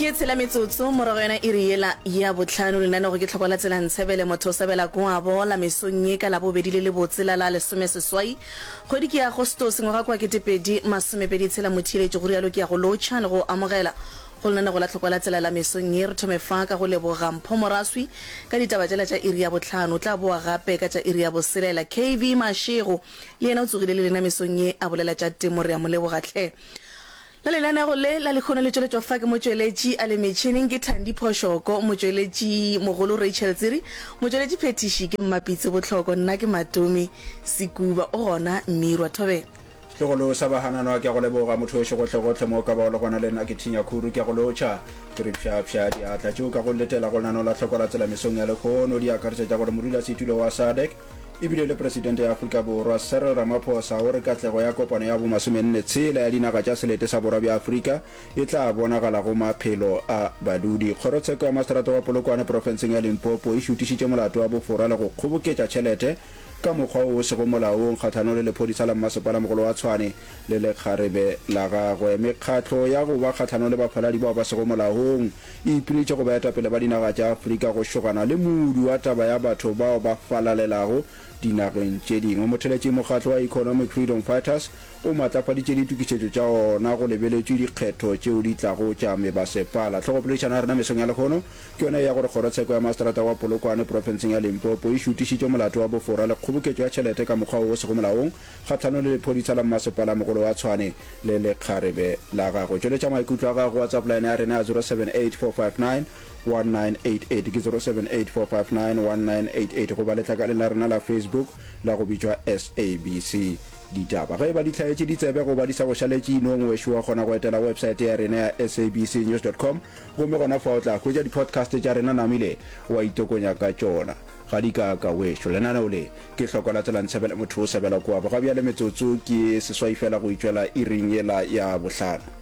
Ke tshela metsotso morago yona iri yela ya bohlano. Lenanego ke Tlhoko la Tsela Ntshebele motho o sebela koabo la mesong ye ka Labobedi le lebotse la la lesomeseswai kgwedi ke ya Agostose ngwaga kwa 2026. Motheeletši go rialo ke ya go lotšha le go amogela go lenanego la Tlhoko la Tsela la mesong ye. Re thome fa ka go leboga Mpho Moraswi ka ditaba tšela tša iri ya bohlano. O tla boa gape ka tša iri ya boselela. KV Mashego le yena o tsogile le lena mesong ye a bolela tša temo. Re a mo leboga hle. La lenanego le la lehono le tšweletšwa fa ke motšweletši a le metšhineng ke Thandi Phoshoko, motšweletši mogolo Rachel Tsiri, motšweletši phethiši ke Mmapitsi Bohloko, nna ke Matome Sekuba, o gona Mmirwa Thobela. Setlogolo sa Bahananwa ke a go leboga motho wešo gohlegohle mo o ka bago le gona le nna ke Thinya Khuru ke a go lotšha ke re pšhapšha diatla tšeo ka go letela go lenaneo la hloko la tsela mesong ya lehono di akaretša tša gore modulasetulo wa SADC E bile le Presidente ya Afrika Borwa, Cyril Ramaphosa o re katlego ya kopano ya bo masomenne-tshela ya dinaga tša selete sa Borwa bja Afrika e tla bonagala go maphelo a badudi. Kgorotsheko ya Maseterata wa Polokwane profenseng ya Limpopo e šutišitše molato wa bofora le go kgoboketša tšhelete ka mokgwa wo o sego molaong kgahlanong le lephodisa la mmasepalamogolo wa Tshwane le lekgarebe la gagwe. Mekgatlo ya go ba kgahlanong le bafaladi bao ba sego molaong e ipiletše go baetapele ba dinaga tša Afrika go šogana le modu wa taba ya batho bao ba falalelago dinageng tše dingwe. Motheletši Mokgatlo wa Economic Freedom Fighters o matlafaditše ditokišetšo tša ona go lebeletšwe dikgetho tšeo di tlago tša mebasepala. Hlogopoledišano ya rena mesong ya lehono ke yona ya gore Kgorotsheko ya Maseterata wa Polokwane profenseng ya Limpopo e šutišitše molato wa bofora le kgoboketšo ya tšhelete ka mokgwa wo o sego molaong kgahlanong le lephodisa la mmasepalamogolo wa Tshwane le lekgarebe la gagwe. Tšweletša maikutlo a gago go WhatsApp line ya rena ya 0784591988 ke 0784591988 goba letlakaleng la rena la Facebook la go bitšwa SABC Ditaba. Ge e ba di hlaetše ditsebe goba di sa go šaletše inong wešo wa kgona go etela websaete ya rena ya sabcnews.com gomme gona fa o tla hwetša di-podcast tša rena namile wa itokonya ka tšona. Ga di ka ka wešo. Lenaneo le ke hloko la tsela ntshebele motho o sebela kua. Ga bjale metsotso ke seswai fela go itšwela iring yela ya bohlano.